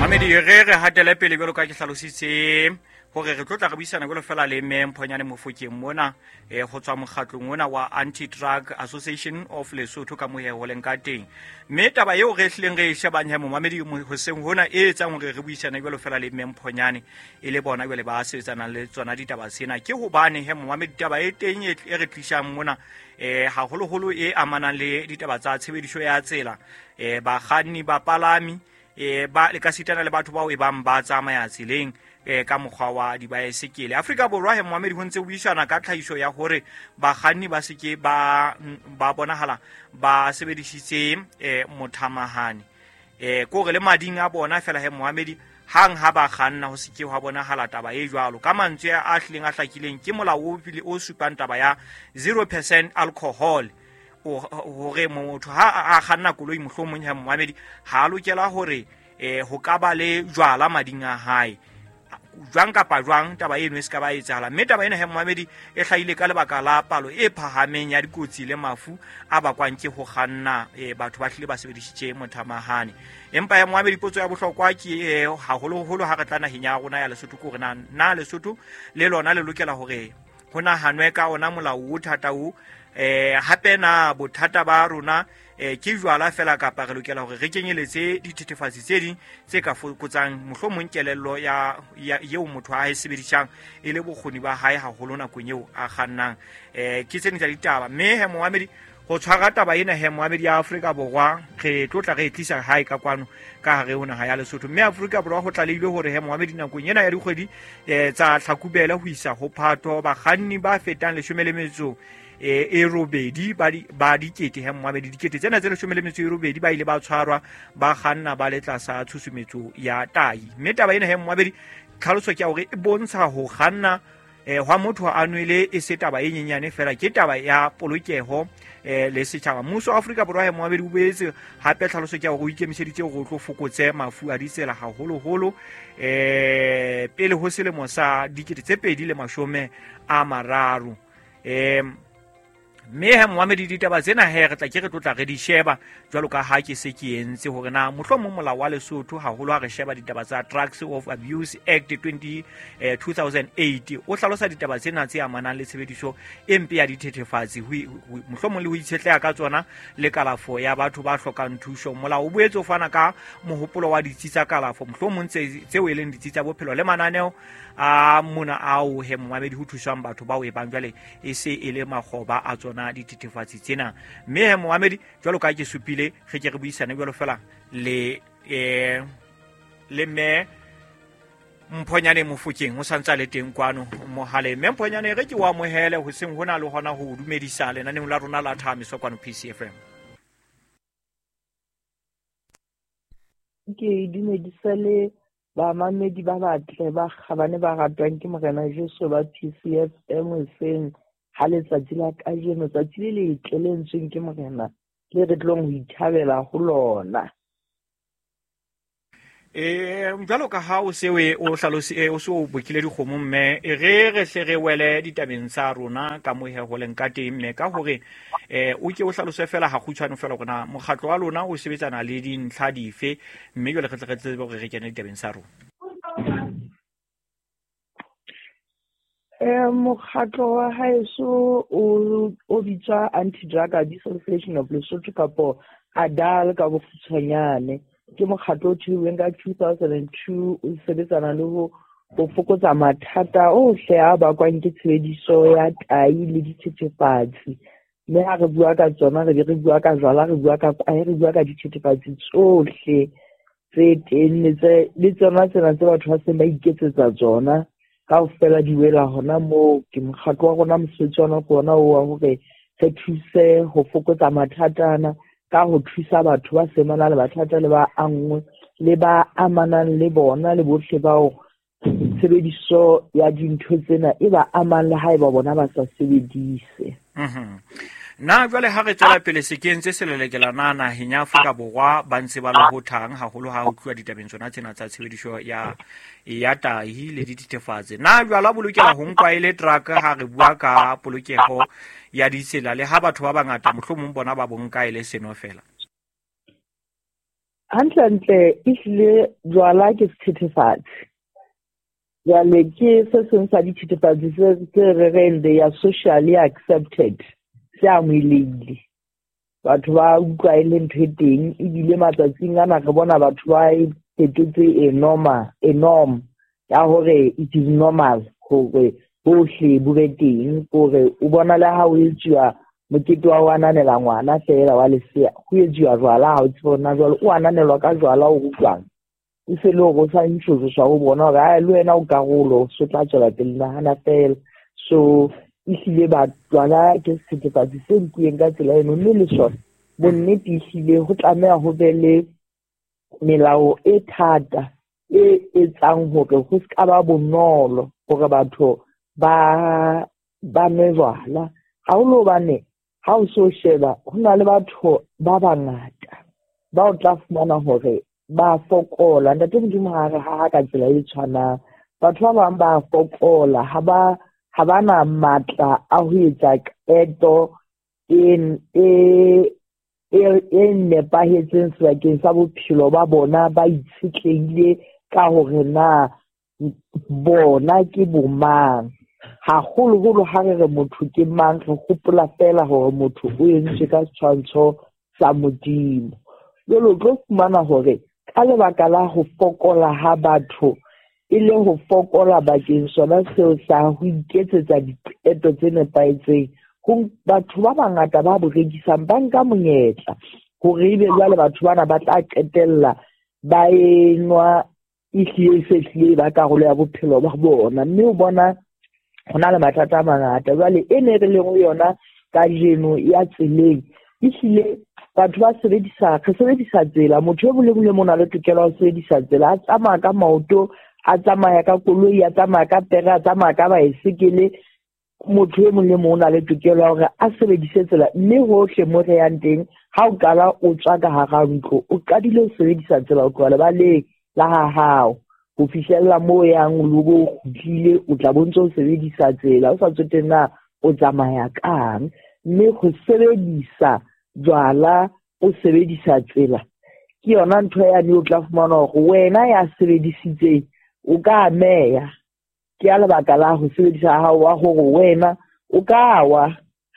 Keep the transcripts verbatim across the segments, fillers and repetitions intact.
Mamedi re re hatele pele jwalo ka ke hlalositse hore re tlo tla re buisana jwalo fela le mme Mphonyane Mofokeng mona eh ho tswa mokgatlong ona wa Anti-Drug Association of Lesotho ka mohe ho leng ka teng. Mme taba eo re hlileng re e shebang he momamedi hoseng hona e etsang hore re buisane jwalo fela le mme Mphonyane e le bona jwale ba sebetsanang le tsona ditaba tsena ke hobane he momamedi taba e teng e re tlisang mona eh haholoholo e amanang le ditaba tsa tshebediso ya tsela eh bakganni bapalami eh ba le ka sitana le batho bao e bang ba tsamaya tseleng eh ka mokgwa wa dibaesekele. Afrika Borwa he momamedi ho ntse ho buisana ka tlhahiso ya hore bakganni ba seke ba ba bonahala ba sebedisitse eh mothamahane eh kore le mading a bona fela he momamedi hang ha ba kganna ho seke ha bonahala taba e jwalo. Ka mantswe a hlileng a hlakileng ke molao o pele o supang taba ya zero percent alcohol hore motho ha a kganna koloi mohlomong ya momamedi ha lokela hore eh ho ka ba le jwala mading a hae jwang kapa jwang taba eno e se ka ba etsahala. Mme taba ena he momamedi e hlahile ka lebaka la palo e phahameng ya dikotsi le mafu a bakwang ke ho kganna e batho ba hlile ba sebedisitse mothamahane. Empa ya momamedi potso ya bohlokwa ke haholoholo ha re tla naheng ya rona ya Lesotho ke hore na na Lesotho le lona le lokela hore ho nahanwe ka ona molao o thata o eh hape na bothata ba rona eh ke jwala fela kapa re lokela hore re kenyeletse dithethefatsi tse ding tse ka fokotsang mohlomong kelello ya eo motho a e sebedisang e le bokgoni ba hae haholo nakong eo a kgannang. Eh ke tsena tsa ditaba mme he momamedi ho tshwara taba ena he momamedi ya Afrika Borwa re tlotla re tlisa hae ka kwano ka hare ho naha ya Lesotho. Mme Afrika Borwa ho tlalehilwe hore he momamedi nakong ena ya dikgwedi eh tsa Hlakubele ho isa ho Phato bakganni ba fetang leshome le metso e robedi ba ba dikete he momamedi dikete tsena tse leshome le metso e robedi ba ile ba tshwarwa ba kganna ba le tlasa tshusumetso ya tai. Mme taba ena he momamedi tlhaloso ke ya hore e bontsha ho kganna eh hwa motho a nwele e se taba e nyenyane fela ke taba ya polokeho eh le setjhaba. Mmuso wa Afrika Borwa he momamedi o boetse hape tlhaloso ke ya hore o ikemiseditse hore o tlo fokotse mafu a ditsela haholoholo eh pele ho selemo sa dikete tse pedi le mashome a mararo. Eh mme he momamedi ditaba tsena he re tla ke re tlotla re di sheba jwalo ka ha ke se ke entse hore na mohlomong molao wa Lesotho haholo ha re sheba ditaba tsa Drugs of Abuse Act twenty eh, two thousand eight o hlalosa ditaba tsena tse amanang le tshebediso e mpe ya dithethefatsi mohlomong le ho itshetleha ka tsona le kalafo ya batho ba hlokang thuso. Molao o boetse o fana ka mohopolo wa ditsi tsa kalafo mohlomong tseo e leng ditsi tsa bophelo le mananeo a mona ao he momamedi ho thusang batho bao e bang jwale e se e le makgoba a tsona dithethefatsi tsena. Mme he momamedi jwalo ka ke supile re ke re buisane jwalo fela le eh le mme Mphonyane Mofokeng o santsa le teng kwano mohale. Mme Mphonyane re ke wa amohele hoseng hona le hona ho dumedisa lenaneng la rona la Thamiso kwano P C F M. Ke dumedisa le bamamedi ba batle ba kgabane ba ratwang ke Morena Jesu ba P C F M hoseng ha letsatsi la kajeno, tsatsi le letle le entsweng ke Morena le re tlong ho ithabela ho lona. Eh jwalo ka ha o se o hlalose o se o bokile dikgomo mme e re re hle re wele ditabeng tsa rona ka mohe ho leng ka teng mme ka hore eh o ke o hlalose fela ha kgutshwane fela hore na mokgatlo wa lona o sebetsana le dintlha dife mme jwale re tle re tsebe hore re kene ditabeng tsa rona. Eh mokgatlo wa haeso o o bitswa Anti-Drug Abuse Association of Lesotho kapo ADAL ka bokgutshwanyane. Ke mokgatlo o thehilweng ka two thousand two o sebetsana le ho ho fokotsa mathata ohle a bakwang ke tshebediso ya tai le dithethefatsi. Mme ha re bua ka tsona re be re bua ka jwala, re bua ka kwae, re bua ka dithethefatsi tsohle tse teng le tse le tsona tsena tse batho ba seng ba iketsetsa tsona kaofela di wela hona moo. Ke mokgatlo wa rona, mosebetsi wa rona o wa hore re thuse ho fokotsa mathata ana ka ho thusa batho ba seng ba na le mathata le ba anngwe le ba amanang le bona le bohle bao tshebediso ya dintho tsena e ba amang le haeba bona ba sa sebedise. Mhm. Na jwale ha re tswela pele sekeng tse selelekela na naheng ya Afrika Borwa ba ntse ba lohothang haholo ha ho tluwa ditabeng tsona tsena tsa tshebediso ya ya tahi le dithethefatsi. Na jwala bo lokela ho nkwa e le drug ha re bua ka polokeho ya ditsela le ha batho ba bangata mohlomong bona ba bonka e le seno fela? Hantlentle ehlile jwala ke sethethefatsi. Jwale ke se seng sa dithethefatsi se se re reng they are socially accepted, se amohelehile. Batho ba utlwa e le ntho e teng, ebile matsatsing ana re bona batho ba e fetotse e normal, e norm ya hore it is normal hore bohle bo be teng, hore o bona le ha o etsuwa mokete wa ho ananela ngwana feela wa lesea, ho etsuwa jwala, ha o tsebe hore na jwale o ananelwa ka jwala o utlwang. E se le hore o sa ntshoswa ho bona hore ai le wena o karolo, so tla tswela pele nahana fela. So ehlile ba jwala ke sethethefatsi se nkuweng ka tsela eno, mme le sona bonnete ehlile ho tlameha ho be le melao e thata e etsang hore ho se ka ba bonolo hore batho ba ba nwe jwala. Haholo hobane ha o so sheba ho na le batho ba bangata ba o tla fumana hore ba fokola. Ntate Modimo ha re ha ka tsela e tshwanang, batho ba bang ba fokola, ha ba ha ba na matla a ho etsa qeto e e e nepahetseng sebakeng sa bophelo ba bona, ba itshetlehile ka hore na bona ke bomang. Haholoholo ha re re motho ke mang, re hopola feela hore motho o entswe ka setshwantsho sa Modimo. Jwale o tlo fumana hore ka lebaka la ho fokola ha batho, e le ho fokola bakeng sona seo sa ho iketsetsa diqeto tse nepahetseng, ho batho ba bangata ba bo rekisang ba nka monyetla hore ebe jwale batho bana ba tla qetella ba enwa ehlile e se hlile ba karolo ya bophelo ba bona. Mme o bona ho na le mathata a mangata. Jwale e ne re leng ho yona kajeno ya tseleng, ehlile batho ba sebedisa, re sebedisa tsela. Motho e mong le mong o na le tokelo ya ho sebedisa tsela, a tsamaya ka maoto, a tsamaya ka koloi, a tsamaya ka pere, a tsamaya ka baesekele. Motho e mong le mong o na le tokelo ya hore a sebedise tsela, mme hohle mo re yang teng, ha o qala o tswa ka hara ntlo, o qadile ho sebedisa tsela ho tloha lebaleng la ha hao ho fihlella moo yang o bo kgutlile, o tla bo ntso o sebedisa tsela, o sa tsotelle na o tsamaya kang. Mme ho sebedisa jwala o sebedisa tsela ke yona ntho yane o tla fumana hore wena ya sebedisitseng o ka ameha. Ke ya lebaka la ho sebedisa ha hao wa hore wena o ka wa.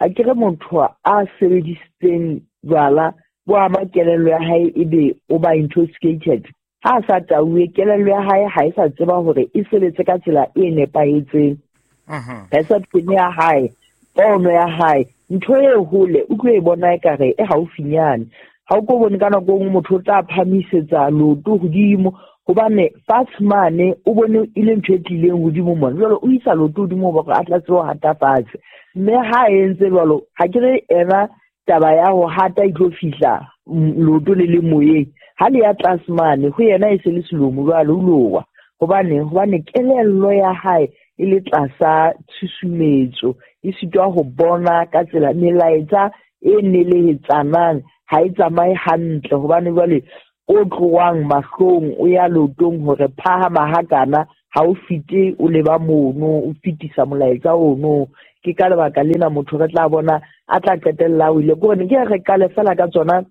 Ha ke re motho a sebedisitseng jwala bo ama kelello ya hae, ebe o ba intoxicated. Ha a sa tauwe, kelello ya hae ha e sa tseba hore e sebetse ka tsela e nepahetseng. Perception ya hae, pono ya hae, ntho e hole o tlo e bona ekare e haufinyane. Ha o ko bone ka nako e nngwe motho o tla phamisetsa leoto hodimo, hobane fatshe mane o bone e le ntho e tlileng hodimo mona, jwale o isa leoto hodimo hore a tla tsebe ho hata fatshe. Mme ha entse jwalo, ha ke re ena taba ya ho hata e tlo fihla leoto le le moyeng, ha le ya tlase mane ho yena e se le selomo jwale o lowa. Hobane, hobane kelello ya hae e le tlasa tshusumetso, e sitwa ho bona ka tsela melaetsa e nelehetsanang ha e tsamaye hantle, hobane jwale o tlohang mahlong o ya leotong hore phahama hakana, ha o fete o leba mono, o fetisa molaetsa ono. Ke ka lebaka lena motho re tla bona a tla qetella o ile. Ke hore ke re qale fela ka tsona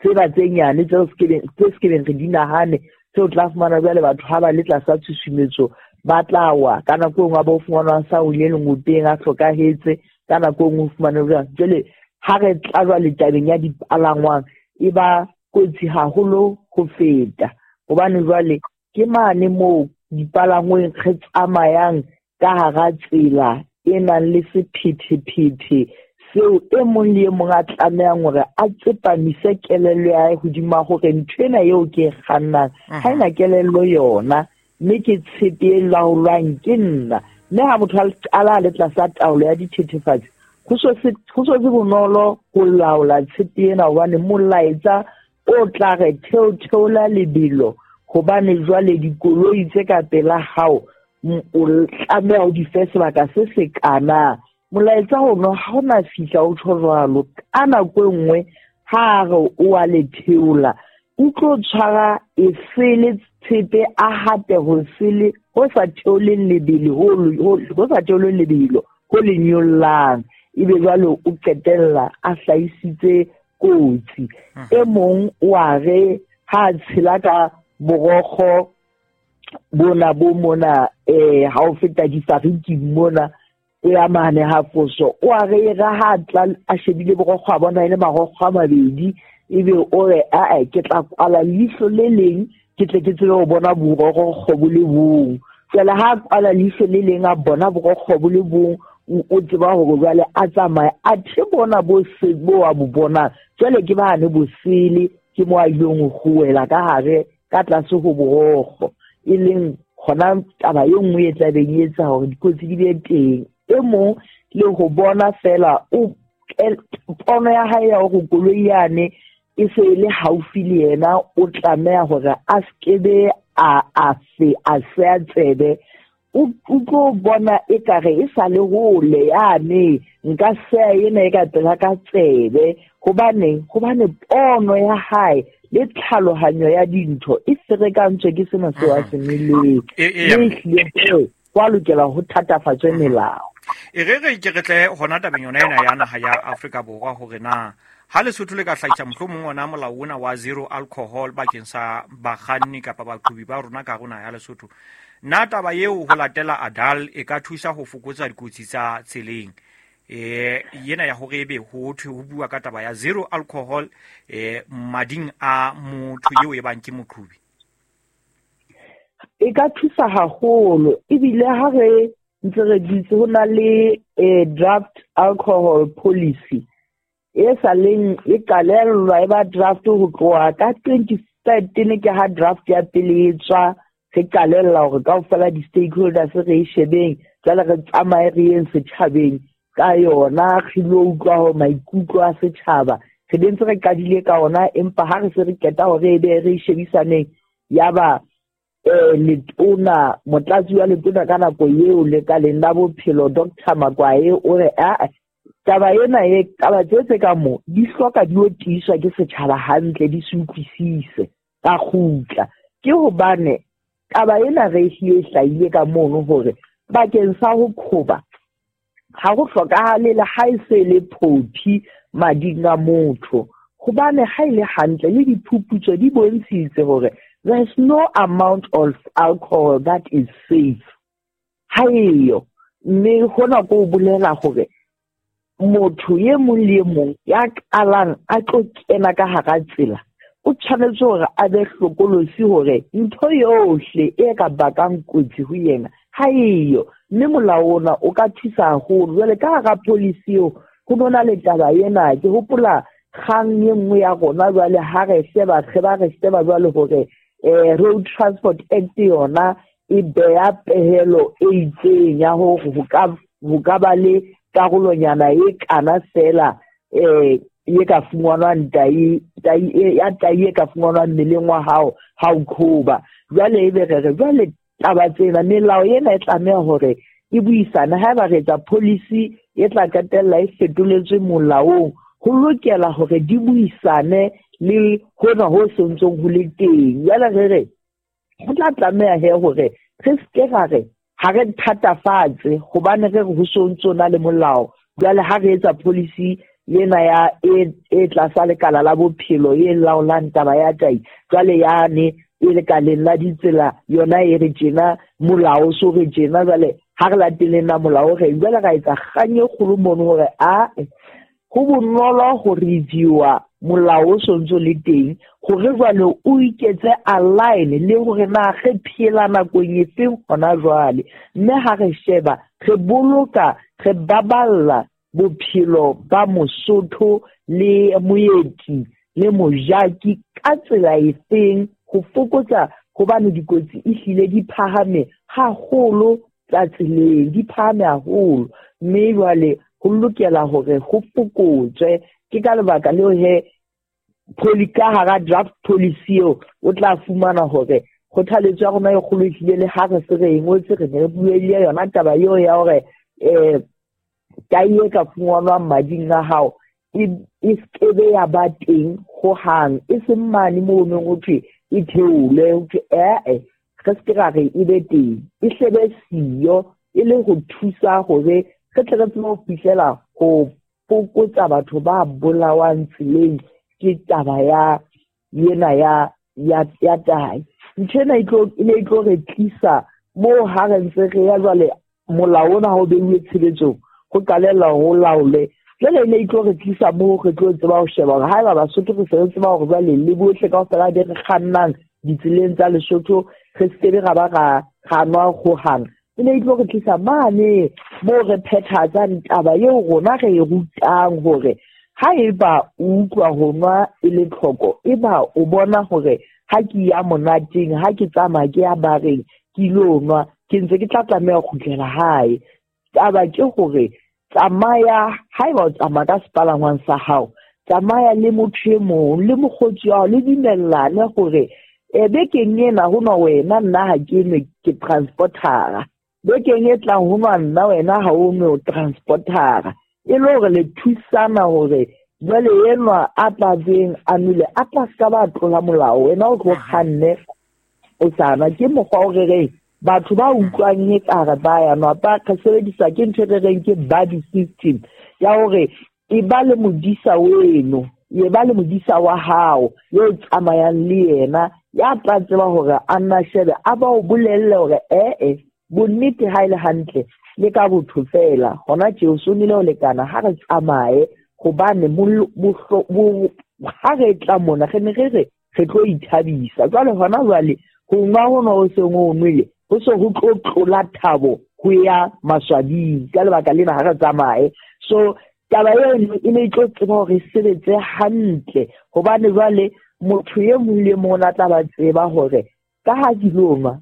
tseba tse nyane tseo tse sekebeng re di nahane, tseo tla fumana jwale batho ha ba le tlasa tshusumetso ba tla wa. Ka nako e nngwe ba o fumana a sa wile lengopeng, a hlokahetse, ka nako e nngwe o fumane jwang. Jwale ha re tla jwale tabeng ya dipalangwang e ba kotsi haholo ho feta, hobane jwale ke mane moo dipalangweng re tsamayang ka hara tsela e nang le sephethephethe seo e mong le e mong a tlamehang hore a tsepamise kelello ya hae hodima hore ntho ena eo ke e kgannang ha ena kelello yona, mme ke tshepe e laolwang ke nna. Mme ha motho a qala a le tlasa taolo ya dithethefatsi, ho so se ho so se bonolo ho laola tshepe ena, hobane molaetsa o tla re theo theola lebelo, hobane jwale dikoloi tse ka pela hao o tlameha o di fe sebaka se se kana. Molaetsa ono ha ona fihla o tjho jwalo, ka nako e nngwe ha re o a le theola, o tlo tshwara e sele tshepe a hate ho sele ho sa theoleng lebelo, ho ho sa theoleng lebelo ho le nyollang, ebe jwale o qetella a hlahisitse kotsi. E mong o a re Ha a tshela ka borokgo bona bo mona eh ha o feta difariki mona o ya mane ha foso o a re ra ha tla a shebile borokgo a bona e le marokgo a mabedi ebe o re a ke tla kwala leihlo le leng ke tle ke tsebe ho bona borokgo bo le bong. Jwale ha kwala leihlo le leng a bona borokgo bo le bong o tseba hore jwale a tsamaye a the bona bo se bo a bo bona jwale ke bane bo sele ke mo a ileng ho wela ka hare ka tlase ho borokgo e leng hona taba e nngwe e tlabeng e etsa hore dikotsi di be teng. E mong le ho bona fela o pono ya hae ya hore koloi yane e se le haufi le yena o tlameha hore a skebe a a se a se a tsebe o tlo bona ekare e sa le hole yane nka seya ena e ka pela ka tsebe hobane hobane pono ya hae le tlhalohanyo ya dintho e ferekantswe ke sena seo a se nweleng. Mme kwa lokela ho thatafatswe melao. E re re ke re tle hona tabeng yona ena ya naha ya Afrika Borwa hore na ha Lesotho le ka hlahisa mohlomong ona molao ona wa zero alcohol bakeng sa bakganni kapa baqhobi ba rona ka rona ya Lesotho, na taba eo ho latela ADAL e ka thusa ho fokotsa dikotsi tsa tseleng? Eh yena ya hore ebe ho thwe ho bua ka taba ya zero alcohol eh mading a motho eo e bang ke moqhobi. E ka thusa haholo ebile ha re ntse re dutse ho na le draft alcohol policy e sa leng e qalellwa e ba draft ho tloha ka twenty thirteen ke ha draft ya pele e tswa re qalella hore kaofela di-stakeholders re e shebeng jwale re tsamaye re yeng setjhabeng ka yona re lo utlwa hore maikutlo a setjhaba re ntse re qadile ka ona empa ha re se re qeta hore e be re shebisaneng yaba eh letona motlatsi wa letona ka nako eo le ka leng la bophelo Doctor Makwae o re a taba ena e taba tse tse ka mo di hloka di o tiiswa ke setjhaba hantle di se utlwisise ka kgutla ke hobane taba ena re ehlile hlahile ka mono hore bakeng sa ho qhoba ha ho hlokahale le ha e se le phophi mading a motho hobane ha ile hantle le diphuputso di bontshitse hore there's no amount of alcohol that is safe. Ha eyo mme hona ko bolela hore motho e mong le e mong ya qalang a tlo kena ka hara tsela o tshwanetse hore a be hlokolosi hore ntho yohle e ka bakang kotsi ho yena ha eyo mme molao ona o ka thusa haholo. Jwale ka hara policy eo ho bona le taba ena ke hopola kgang e nngwe ya rona jwale ha re sheba re ba re sheba jwale hore eh Road Transport Act yona e beya pehelo e itseng ya hore ho ka ho ka ba le karolonyana e kana fela eh e ka fumanwang tai tai ya tai e ka fumanwang mmeleng wa hao ha o qhoba. Jwale ebe re re jwale taba tsena melao ena e tlameha hore e buisane haeba re etsa policy e tla qetella e fetoletswe molaong ho lokela hore di buisane le hona ho sentsong ho le teng. Jwale re re ho tla tlameha he hore re ske ra re ha re thatafatse hobane re re ho sontso na le molao. Jwale ha re etsa policy ena ya e e tlasa lekala la bophelo e laolang taba ya tai jwale yane e lekaleng la ditsela yona e re tjena molao so re tjena jwale ha re lateleng na molao re jwale ra etsa kgang e kgolo mono hore a ho bonolo ho reviewa molao o sontso le teng hore jwale o iketse align le hore na re phela nakong e feng hona jwale mme ha re sheba re boloka re baballa bophelo ba Mosotho le moeti le mojaki ka tsela e feng ho fokotsa hobane dikotsi e hlile di phahame haholo tsa tseleng di phahame haholo mme jwale ho lokela hore ho fokotswe. Ke ka lebaka leo he poli ka hara draft policy eo o tla fumana hore kgothaletso ya rona e kgolo ehlile le ha re se re e ngotse re ne re buelle yona taba eo ya hore eh tai e ka fumanwang mading a hao e e skebe ya ba teng hohang e seng mane moo neng ho thwe e theole ho thwe ee re se ra re e be teng e hlebe siyo e le ho thusa hore re tle re tsebe ho fihlela ho fokotsa batho ba bolawang tseleng ke taba ya ena ya ya ya tahi. Ntho ena e tlo e ne e tlo re tlisa moo ha re ntse re ya jwale molao ona ha o beuwe tshebetsong ho qalella ho laole. Jwale e ne e tlo re tlisa moo re tlo tseba ho sheba hore haeba Basotho re se re tseba hore jwale le bohle kaofela be re kgannang ditseleng tsa Lesotho re se kebe ra ba ra ra nwa hohang. E ne e tlo re tlisa mane moo re phethahatsang taba eo rona re e rutang hore haeba o utlwa ho nwa e le tlhoko, eba o bona hore ha ke ya monateng, ha ke tsamaya ke ya bareng ke ilo nwa, ke ntse ke tla tlameha ho kgutlela hae. Taba ke hore tsamaya, haeba o tsamaya ka sepalangwang sa hao, tsamaya le motho e mong le mokgotsi wa hao, le dumellane hore e bekeng ena ho nwa wena, nna ha ke nwe, ke transportara. Bekeng e tlang ho nwa nna, wena ha o nwe, o transportara. E le hore le thusana hore jwale enwa a tla beng a nwele a tla ska ba tlola molao, wena o tlo kganne o sa nwa. Ke mokgwa o re reng batho ba utlwang ekare ba ya nwa ba ka sebedisa ke ntho e re reng ke buddy system ya hore e ba le modisa weno, e ba le modisa wa hao yo tsamayang le yena ya tla tseba hore a nna shebe a ba o bolelle hore eh bonnete ha e le hantle le ka botho fela hona tje o so nwele ho lekana, ha re tsamaye hobane ha re tla mona re ne re re re tlo ithabisa. Jwale hona jwale ho nwa hona ho seng ho nwele ho se ho tlo tlola thabo ho ya maswabing, ka lebaka lena ha re tsamaye. So taba eno e ne e tlo tseba hore e sebetse hantle hobane jwale motho e mong le mong o tla ba tseba hore ka ha ke lo nwa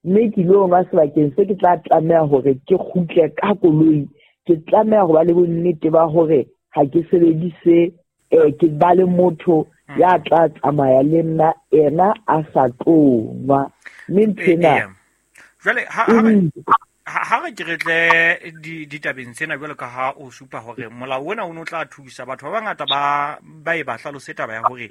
mme ke lo nwa sebakeng se ke tla tlameha hore ke kgutle ka koloi, ke tlameha ho ba le bonnete ba hore ha ke sebedise eh ke ba le motho ya tla tsamaya le nna ena a sa tlo nwa. Mme ntho ena jwale ha ha re ke re tle ditabeng tsena jwalo ka ha o supa hore molao ona o no tla thusa batho ba bangata ba ba e ba hlalose taba ya hore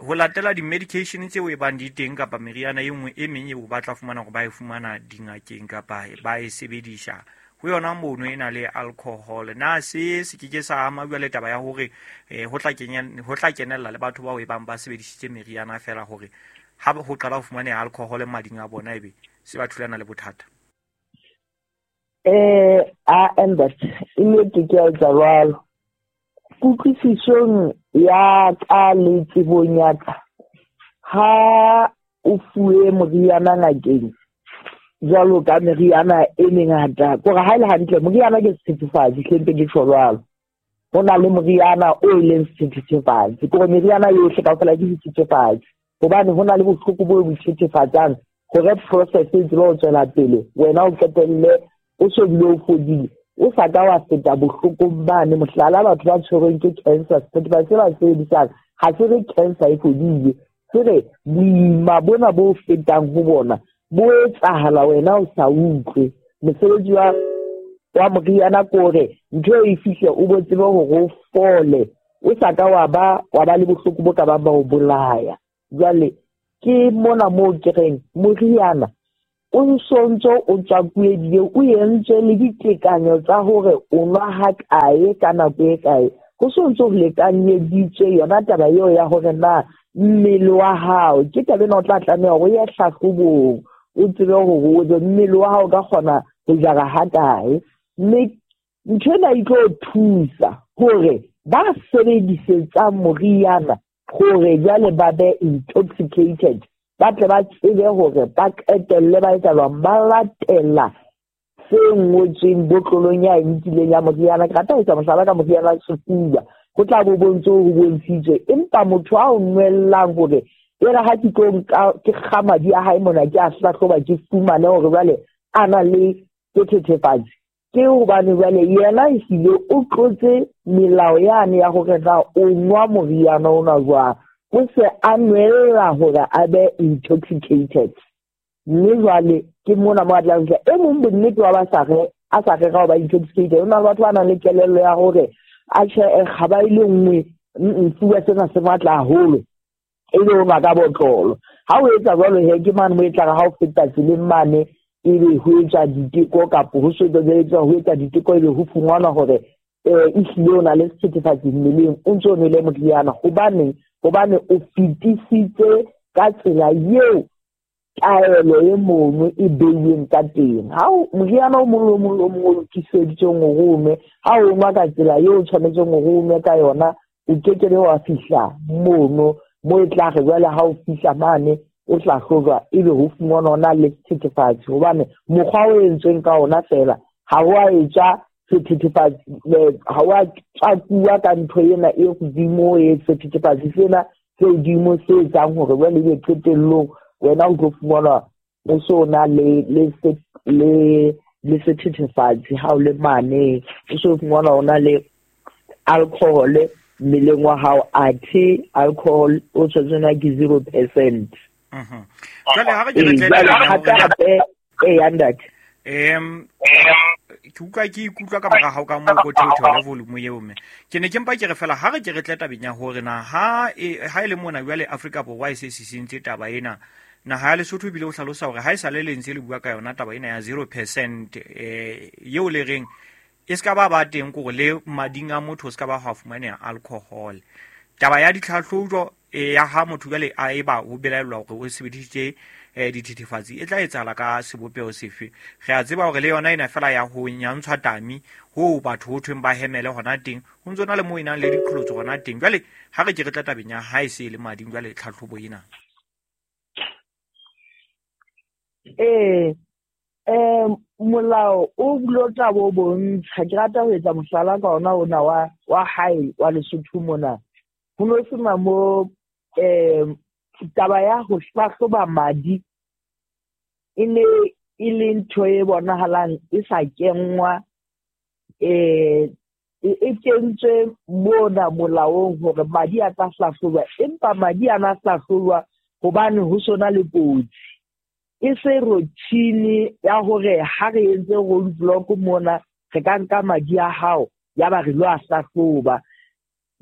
ho latela di-medication tseo e bang di teng kapa meriana e nngwe e meng eo ba tla fumana hore ba e fumana dingakeng kapa ba e sebedisa ho yona mono e na le alcohol. Na se se ke ke sa ama jwale taba ya hore ho tla kenya ho tla kenella le batho bao e bang ba sebedisitse meriana fela hore ha ho qala ho fumaneha alcohol mading a bona ebe se ba thulana le bothata? Eh a Albert e nnete ke a etsa jwalo. Kutlwisisong ya ka le tsebong ya ka, ha o fuwe moriana ngakeng jwalo ka meriana e mengata, kore ha e le hantle moriana ke sethethefatsi, hle mpe ke tjho jwalo. Ho na le moriana o e leng sethethefatsi, kore meriana yohle kaofela ke sethethefatsi hobane ho na le bohloko bo bo thethefatsang hore process e tsebe ho tswela pele, wena o qetelle o so bile o fodile o sa ka wa feta bohlokong bane. Mohlala, batho ba tshwerweng ke cancer, sethethefatsi se ba sebedisang ha se re cancer e fodile, se re boima bona bo fetang ho bona bo etsahala wena o sa utlwe. Mosebetsi wa wa moriana ke hore ntho e fihle o bo tsebe hore o fole, o sa ka wa ba wa ba le bohloko bo ka bang ba o bolaya. Jwale ke mona moo ke reng moriana o sontso o tswakuwe ebile o entswe le ditekanyo tsa hore o nwa ha kae ka nako e kae, ho sontso ho lekanyeditswe yona taba eo ya hore na mmele wa hao ke taba ena o tla tlameha hore o ye hlahlobong o tsebe hore o mmele wa hao ka kgona ho jara ha kae. Mme ntho ena e tlo thusa hore ba sebedisetsang moriana hore jwale ba be intoxicated, ba tle ba tsebe hore ba qetelle ba etsa jwang, ba latela se ngotsweng botlolong ya e nkileng ya moriana. Ke rata ho etsa mohlala ka moriana wa sefuba, ho tla bo bontse ho bontshitswe, empa motho a o nwellang hore e re ha ke tlo nka ke kga madi a hae mona ke a hlahloba ke fumane hore jwale a na le sethethefatsi, ke hobane jwale yena ehlile o tlotse melao yane ya hore na o nwa moriana ona jwang, o se a nwella hore a be intoxicated. Mme jwale ke mona mo a tlang fihla. E mong bonnete wa ba sa re a sa rera ho ba intoxicated, ho na le batho ba nang le kelello ya hore atjhe kgaba e le nngwe sefuba sena se matla haholo ebe o nwa ka botlolo. Ha o etsa jwalo he ke mane mo e tla re ha o feta tseleng mane ebe ho etswa diteko kapa ho so ho etsa diteko ebe ho fumanwa hore eh ehlile o na le sethethefatsi mmeleng o ntso o nwele moriana. Hobaneng? Hobane o fetisitse ka tsela eo taelo e mono e beilweng ka teng. Ha moriana o mong le o mong le o mong o lokiseditsweng hore o nwe, ha o nwa ka tsela eo o tshwanetseng hore o nwe ka yona, o kekebe wa fihla mono mo e tla re jwale ha o fihla mane o hlahlojwa ebe ho fumanwa o na le sethethefatsi, hobane mokgwa o entsweng ka ona fela ha o a etswa sethethefatsi, ha o a tsakuwa ka ntho ena e hodimo e sethethefatsi sena se hodimo se etsang hore jwale ebe qetellong wena o tlo fumanwa o so na le le le le sethethefatsi ha o le mane, o so fumanwa o na le alcohol mmeleng wa hao, athe alcohol o tshwanetse ke zero percent. Mhm. Jwale ha re ke re tle e ya ntate. Em ke utlwa ke ikutlwa ka mora hao ka moo ko theotheo le volume eo mme. Ke ne ke mpa ke re fela ha re ke re tle tabeng ya hore na ha ha e le mona jwale Afrika Borwa e se sisintse taba ena, naha ya Lesotho ebile o hlalosa hore ha e sale le ntse le bua ka yona taba ena ya zero percent eh eo le reng e ska ba ba teng kore le mading a motho o ska ba hwa fumaneha alcohol. Taba ya ditlhatlhobo e ya ha motho jwale a eba ho belaellwa hore o sebedisitse dithethefatsi e tla etsahala ka sebopeho sefe? Re a tseba hore le yona ena fela ya ho nyantshwa tami ho batho ho thweng ba hemele hona teng, ho ntso na le moo e nang le diqholotso hona teng. Jwale ha re ke re tla tabeng ya ha e se le mading jwale tlhatlhobo ena. Eh eh molao o bulo tla bo bontsha, ke rata ho etsa mohlala ka ona ona wa wa hae wa Lesotho mona. Ho no sena mo eh taba ya ho hlahloba madi e ne e le ntho e bonahalang e sa kenngwa, eh e kentswe mona molaong hore madi a tla hlahlojwa, empa madi a na hlahlojwa hobane ho sona le kotsi. E se routine ya hore ha re entse road block mona re ka nka madi a hao ya ba re lo a hlahloba.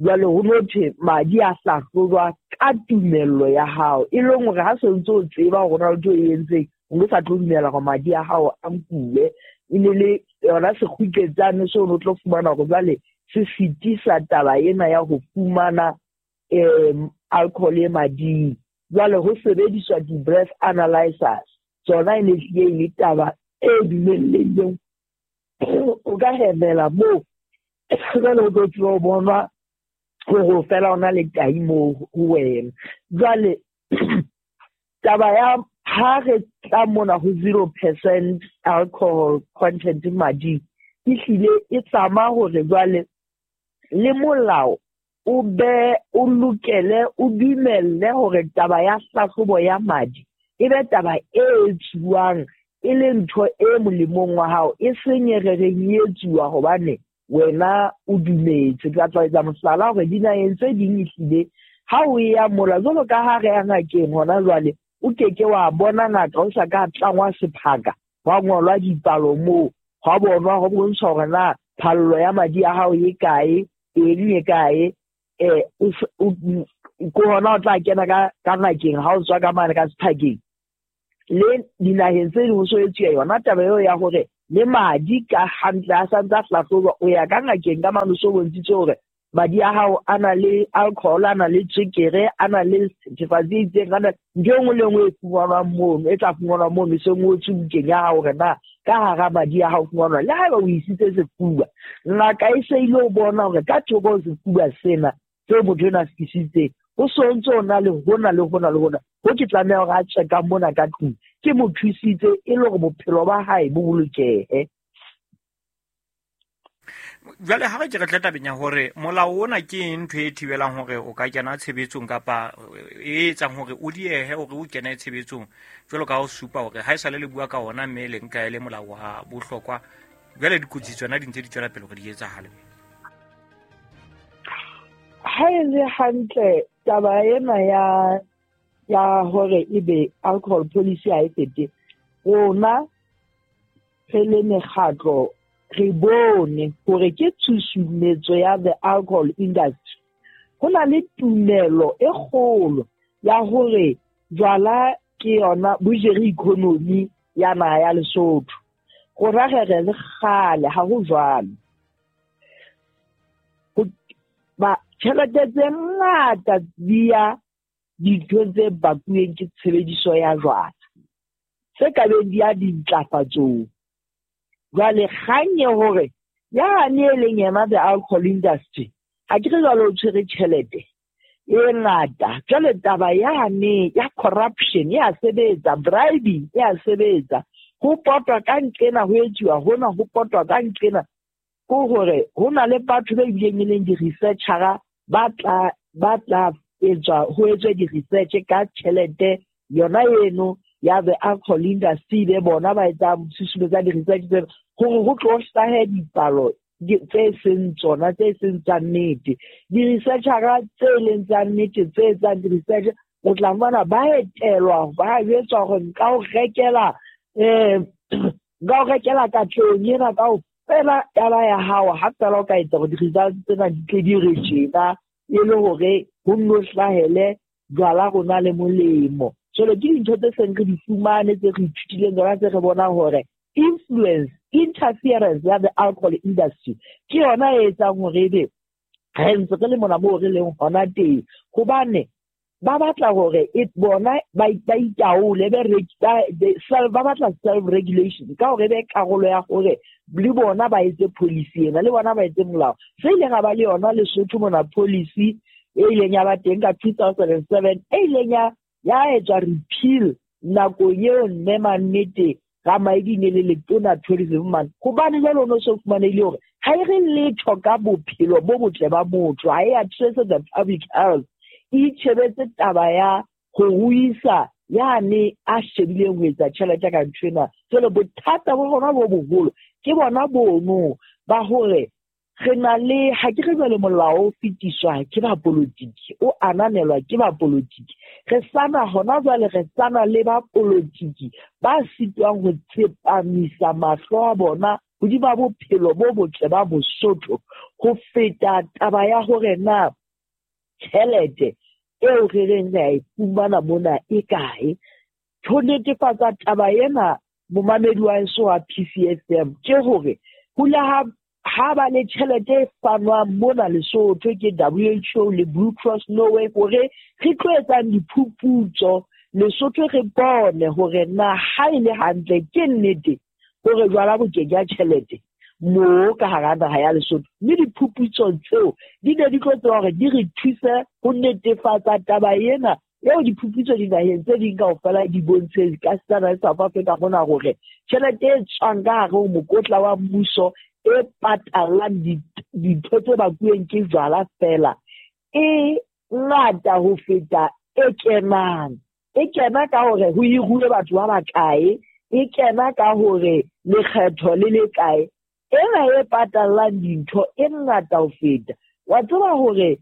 Jwale ho no thwe madi a hlahlojwa ka tumello ya hao, e leng hore ha se ntse o tseba hore na ntho e entseng o no sa tlo dumela hore madi a hao a nkuwe. E ne le yona sekguketsane seo o tlo fumana hore jwale se sitisa taba ena ya ho fumana um alcohol e mading. Jwale ho sebediswa di-breath analyzers, tsona e ne hlile e le taba e dumellehileng, o ka hemela moo jwale o tlo tseba ho bonwa hore fela o na le tahi moo ho wena. Jwale taba ya ha re tla mona ho zero percent alcohol content mading e hlile e tlama hore jwale le molao o be o lokele o dumelle hore taba ya hlahlobo ya madi e be taba e etsuwang e le ntho e molemong wa hao, e seng e re reng e etsuwa hobane wena o dumetse. Ke tla etsa mohlala hore dinaheng tse ding ehlile ha o ya mola jwalo ka ha re ya ngakeng hona jwale, o keke wa bona ngaka o sa ka tlangwa sephaka, hwa ngolwa dipalo moo, hwa bonwa ho bontsha hore na phallo ya madi a hao e kae, eng e kae, eh ko hona o tla kena ka ka ngakeng ha o tswa ka mane ka sephakeng. Le dinaheng tse ding ho so etsuwa yona taba eo ya hore le madi ka hantle a santse a hlahlojwa, o ya ka ngakeng ka mane o so bontshitse hore madi a hao a na le alcohol, a na le tswekere, a na le sethethefatsi e itseng, a na ntho e nngwe le nngwe e fumanwang mono, e tla fumanwa mono, e se ngotswe bukeng ya hao hore na ka hara madi a hao fumanwa. Le haeba o isitse sefuba, ngaka e se ile ho bona hore ka thoko ho sefuba sena seo motho enwa a se tlisitseng, o so ntse o na le hona le hona le hona, ho ke tlameha hore a tswe ka mona ka tlung, ke mo thusitse e le hore bophelo ba hae bo bolokehe. Jwale ha re ke re tle tabeng ya hore molao ona ke ntho e thibelang hore o ka kena tshebetsong kapa e etsang hore o diehe hore o kene tshebetsong, jwalo ka ha o supa hore ha e sale le bua ka ona mme le nka e le molao wa bohlokwa, jwale dikotsi tsona di ntse di tswela pele hore di etsahale. Ha e le hantle taba ena ya ya hore ebe alcohol policy ha e fete, rona re le mekgatlo re bone hore ke tshusumetso ya the alcohol industry. Ho na le tumelo e kgolo ya hore jwala ke yona bo jere economy ya naha ya Lesotho. Rona re re le kgale ha ho jwalo. Ba tjhelete tse ngata di ya dintho tse bakuweng ke tshebediso ya jwala tse ka beng di ya dintlafatsong. Jwale kgang e hore yane e leng yena the alcohol industry ha ke re jwale o tshwere tjhelete e ngata. Jwale taba yane ya corruption ya sebetsa, bribing ya sebetsa, ho potwa ka nqena ho etsuwa hona, ho potwa ka nqena. Ko hore ho na le batho ba bileng e leng di-researcher ba tla ba tla etswa ho etswe di-research ka tjhelete yona eno ya the alcohol industry, be bona ba etsa susumetsa di-research tsena hore ho tlo hlahe dipalo tse seng tsona, tse seng tsa nnete. Di-researcher tse leng tsa nnete tse etsang di-research o tla bona ba etelwa, ba jwetswa hore nka o rekela um nka o rekela katlehong ena kaofela taba ya hao, ha fela o ka etsa hore di-results tsena di tle di re tjena e le hore ho nno hlahele jwala rona le molemo. Jwale ke dintho tse seng re di fumane, tse re ithutileng tsona, tse re bonang hore influence, interference ya the alcohol industry ke yona e etsang hore ebe re ntse re le mona moo re leng hona teng. Hobane ba batla hore e bona ba ba itaole, be self, ba batla self regulation ka hore be karolo ya hore le bona ba etse policy ena, le bona ba etse molao. Se ileng ga ba le yona Lesotho mona policy e ileng ya ba teng ka two thousand and seven, e ileng ya ya etswa repeal nakong eo mme mannete Ramaedi ne le letona tourism man. Hobane jwale o no so fumanehile hore ha e re letho ka bophelo bo botle ba motho, ha e address the public health, e itjhebetse taba ya ho ruisa yane a shebileng ho etsa tjhelete ka ntho ena. Jwale bothata bo rona bo boholo ke bona bono ba hore re na le, ha ke re jwale molao o fetiswa ke bapolotiki, o ananelwa ke bapolotiki. Re sana hona jwale re sana le bapolotiki ba sitwang ho tsepamisa mahlo a bona hodima bophelo bo botle ba Mosotho ho feta taba ya hore na tjhelete eo re reng re a e fumana mona e kae. Ho netefatsa taba ena momamedi wa heso wa P C F M ke hore ho le ha ha ba le tjhelete e fanwang mona Lesotho ke W H O le Blue Cross Norway hore re tlo etsang diphuputso Lesotho, re bone hore na ha e le hantle ke nnete hore jwala bo ke ya tjhelete moo ka hara naha ya Lesotho. Mme diphuputso tseo di ne di tlo tseba hore di re thuse ho netefatsa taba ena eo diphuputso dinaheng tse ding kaofela di bontshe ka setsana le South Africa mona hore tjhelete e tswang ka hare ho mokotla wa mmuso e patalang dintho tse bakuweng ke jwala fela e ngata ho feta e kenang. E kena ka hore ho hiruwe batho ba bakae, e kena ka hore lekgetho le le kae. Ena e patalang dintho e ngata ho feta. Wa tseba hore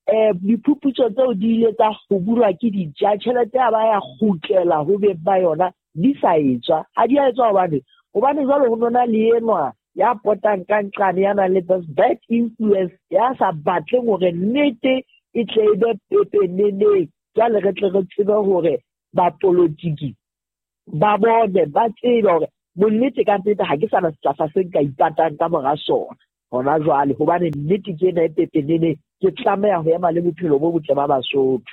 eh diphuputso tseo di ile tsa kgobulwa ke ditja, tjhelete ya ba ya kgutlela ho beng ba yona di sa etswa. Ha di a etswa hobane hobane jwale ho nona le enwa ya potang ka nqane, ya nang le this bad influence, ya sa batleng hore nnete e tle e be pepeneneng. Jwale re tle re tsebe hore bapolotiki ba bone, ba tsebe hore bonnete ka nnete ha ke sana sehlahla se nka ipatang ka mora sona hona jwale, hobane nnete ke ena e pepeneneng, ke tlameha ho ema le bophelo bo botle ba Basotho.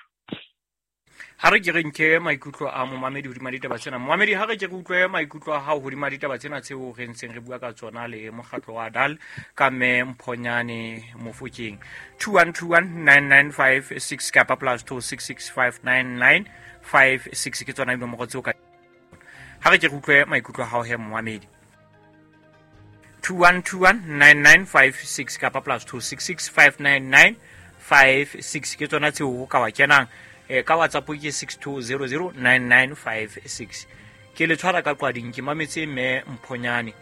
Ha re ke re nke maikutlo a momamedi hodima ditaba tsena. Momamedi, ha re ke re utlwe maikutlo a hao hodima ditaba tsena tseo re ntseng re bua ka tsona le mokgatlo wa D A L ka mme Mphonyane Mofokeng. two one two one nine nine five six kapa plus two six six five nine nine five six ke tsona dinomoro tseo ka. Ha re ke re utlwe maikutlo a hao he momamedi. two one two one nine nine five six kapa plus two six six five nine nine five six ke tsona tseo ka wa kenang. E ka WhatsApp ke six two zero zero nine nine five six. Ke le tshwara ka qwading ke mametse mme Mphonyane.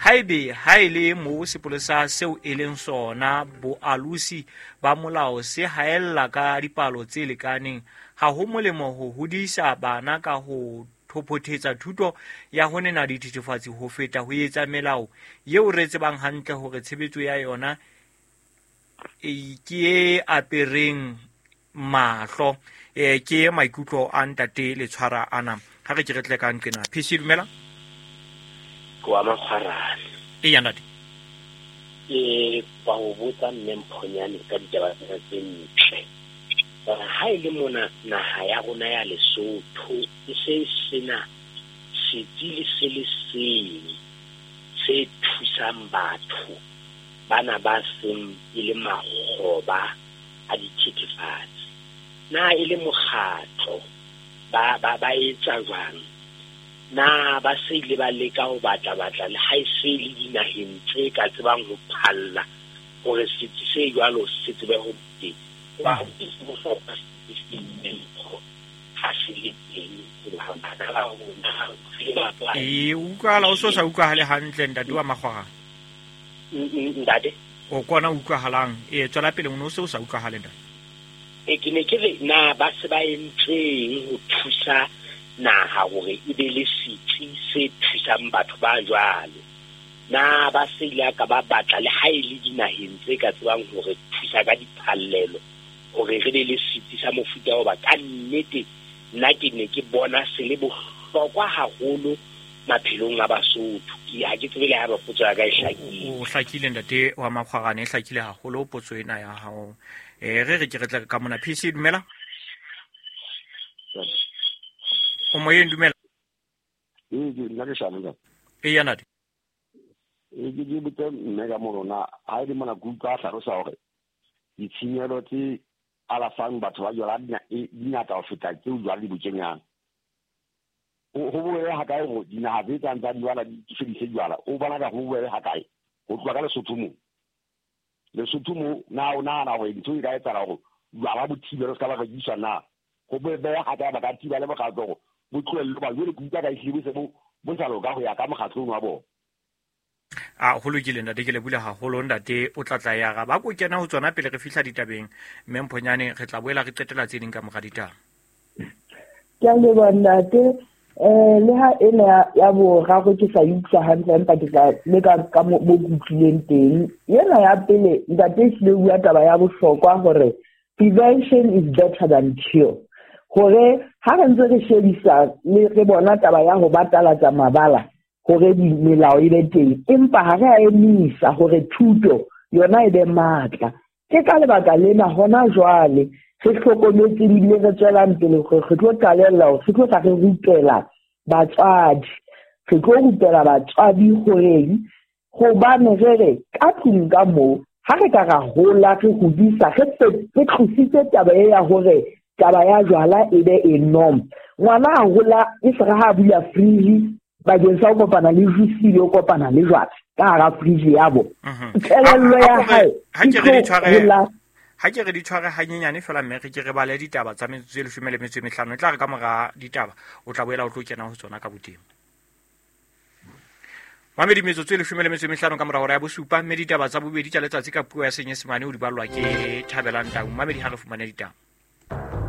Haebe ha e le mo sepolesa seo e leng sona boalusi ba molao se haella ka dipalo tse lekaneng, ha ho molemo ho hodisa bana ka ho thopothetsa thuto ya ho nena dithethefatsi ho feta ho etsa melao eo re tsebang hantle hore tshebetso ya yona e ke e apereng mahlo. E ke maikutlo a ntate le tshwara ana. Ha re ke re tle ka nqena. P C dumela. Kwa makgwarane. E ya ntate. Ke ba ho botsa mme Mphonyane ka ditaba tsena tse ntle. Hore ha e le mona naha ya rona ya Lesotho e se sena setsi le se le seng se thusang batho bana ba seng e le makgoba a dithethefatsi. Na e le mokgatlo ba ba ba etsa jwang? Na ba se ile ba leka ho batla batla le ha e se le dinaheng tse ka tsebang ho phalla hore setsi se jwalo se tsebe ho teng. Ba bohlokwa ha se le teng hoba bana ba rona re ba E utlwahala o so sa utlwahale hantle ntate wa Makgwarane. Ntate o kona utlwahalang e tswela pele o no se o sa utlwahale ntate. E ke ne ke re na ba se ba entseng ho thusa naha hore e be le setsi se thusang batho ba jwalo. Na ba se ile ka ba batla le ha e le dinaheng tse ka tsebang hore thusa ka diphallelo hore re be le setsi sa mofuta wa ba ka nnete nna ke ne ke bona se le bohlokwa haholo maphelong a Basotho. Ke ha ke tsebe le ha ba potso ya ka e hlakile. O hlakile ntate wa Makgwarane, e hlakile haholo potso ena ya hao. Eh re re ke re tle ka mona P C dumela. O moyeng dumela. E ke nna ke shano ntate. E ya ntate. E ke ke botse mme ka morona ha e le mona ke utlwa a hlalosa hore ditshenyehelo tse alafang batho ba jwala di ngata ho feta tseo jwala di bo kenyang. Ho bobebe ha kae hore dinaha tse tsang tsa jwala di fedise jwala? O bona ka ho bobebe ha kae ho tloha ka Lesotho moo? Lesotho moo na o nahana hore ntho e ka etsahala hore jwala bo thibelwe se ka ba rekiswa na? Ho bobebe ha kae ba ka thiba le mokgatlo hore bo tlohellwe ba jwale ke utlwa ka ehlile bo se bo bo sa loka ho ya ka mokgatlong wa bona. A ho lokile ntate, ke lebule haholo ntate o tla tla ya ga ba ko kena ho tsona pele re fihla ditabeng mme Mphonyane re tla boela re qetela tse ding ka mora ditaba. Ke a leboha ntate. Eh le ha ena ya boraro ke sa utlwa hantle empa ke tla leka ka mo ke utlwileng teng. Ena ya pele ntate e hlile bua taba ya bohlokwa hore prevention is better than cure. Hore ha re ntse re shebisa le re bona taba ya ho batalatsa mabala hore melao e be teng, empa ha re a emisa hore thuto yona e be matla. Ke ka lebaka lena hona jwale re hlokometse ebile re tswelang pele hore re tlo qalella hore re tlo tla re rupela batswadi. Re tlo rupela batswadi horeng hobane re re ka tlung ka moo ha re ka ra hola re hodisa re re tlositse taba e ya hore taba ya jwala e be e norm. Ngwana a hola e se re ha bula fridge bakeng sa ho kopana le juice le ho kopana le jwala ka hara fridge ya bo. Kelello ya hae ha ke re di tshware ha ke re di tshware hanyenyane fela mme re ke re bale ditaba tsa metsotso e leshome le metso e mehlano e tla re ka mora ditaba o tla boela o tlo kena ho tsona ka boteng. Mamedi metsotso e leshome le metso e mehlano ka mora hora ya bosupa mme ditaba tsa bobedi tsa letsatsi ka puo ya Senyesemane o di ballwa ke Thabelang Tau. Mamedi ha re fumane ditaba.